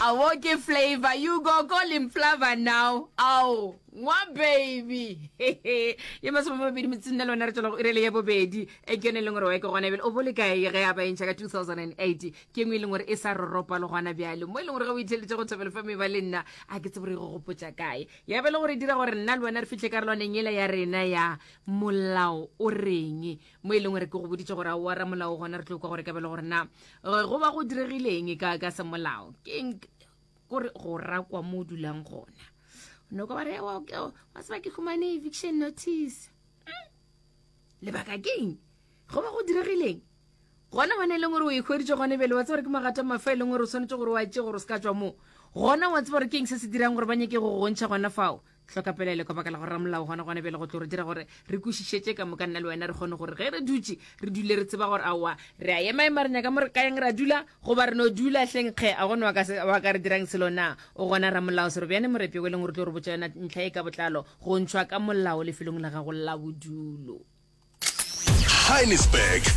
Awo ke flavor you go call him flavor now ao ngwa baby ye masomemabedi metsing le lona re tswela go irele ya bobedi e ke yone e leng gore wa e ke gona bjale o bole kae ge a ba entšha ka 2008 ke engwe e leng gore e sa roropa le gona bjale mo e leng gore ge o itheletše go thobelo fa meba le nna a ke tsebe gore e go gopotša kae ya be le gore e dira gore nna le wena re fihle karolwaneng yela ya rena ya molao o reng mo e leng gore ke go boditše gore aowa ramolao gona re tlo kwa gore ka bele gore na eh, go ba go diregileng ka ka semolao ke kore go rakwa mo o dulang gona no ka ba re wa wa tseba ke humane eviction notice hmm? lebaka keng go ba go diregileng gona gone e leng gore o ikgweditše gone bele wa tseba gore ke magato mafa e leng gore o swanetše gore wa tše gore o se ka tswa moo gona wa tseba gore ke eng se se dirang gore ba nyake go go ntšha gona fao Hloka pelaelo ka baka la gore ramolao gona gona bjale go tlo re dira gore re kwešišetše ka moka nna le wena re kgone gore ge re dutše re dule re tseba gore aowa re a emaema re nyaka mo re kayang ra dula goba re no dula hleng kge a gone wa ka wa ka re dirang selo na o gona ramolao Serobjane Morepi o e leng gore tlo re botša yona ntlha e ka botlalo go ntšhwa ka molao lefelong la gago la bodulo. Heinisberg.